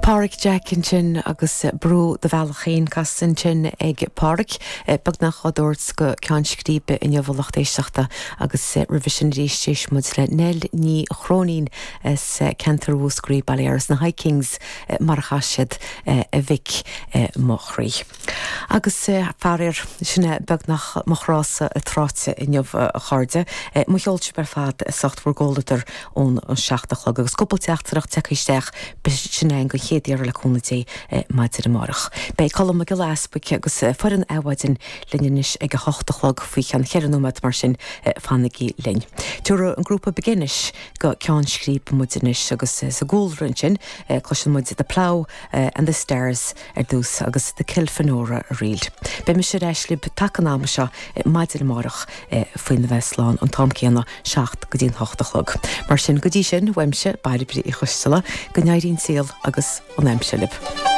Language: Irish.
Páraic Jack ansin agus Brú do Bhealach Féin casta ansin ag Páraic, beagnach á dtabhairt go ceann scríbe inniu a lucht éisteachta agus roimhe sin arís d'éist muid le Nell Ní Chróinín as ceantar Mhúscraí, Baile Iorrais, na High Kings mar a chas siad a mhic mo chroí. Agus faraor, sin é beagnach mo chrása tráite inniu, a chairde. Mo cheol sibh ar fad as ucht bhur gcomhluadar ón 7 a chlog agus cúpla teachtaireacht tagtha isteach, beidh sin againn don chéad iarraidh le cúnamh Dé maidin amárach. Beidh Colm Mac Giolla Easbuic agus foireann Adhmhaidin linn anois ag a hocht a chlog faoi cheann cheithre nóiméad mar sin fanaigí linn. Tabharfaidh an grúpa Beginish go ceann scríbe muid anois agus sa gcúlra ansin cloiseann muid The Plough and the Stars ar dtús agus The Kilfenora Reel. Beidh mise ar ais libh taca an ama seo maidin amárach faoina bheith slán an t-am céanna, 7 go dtí an 8 a chlog. Mar sin, go dtí sin, uaimse, Bairbre Uí Choisteala, go n-éirí an saol agus an aimsir libh.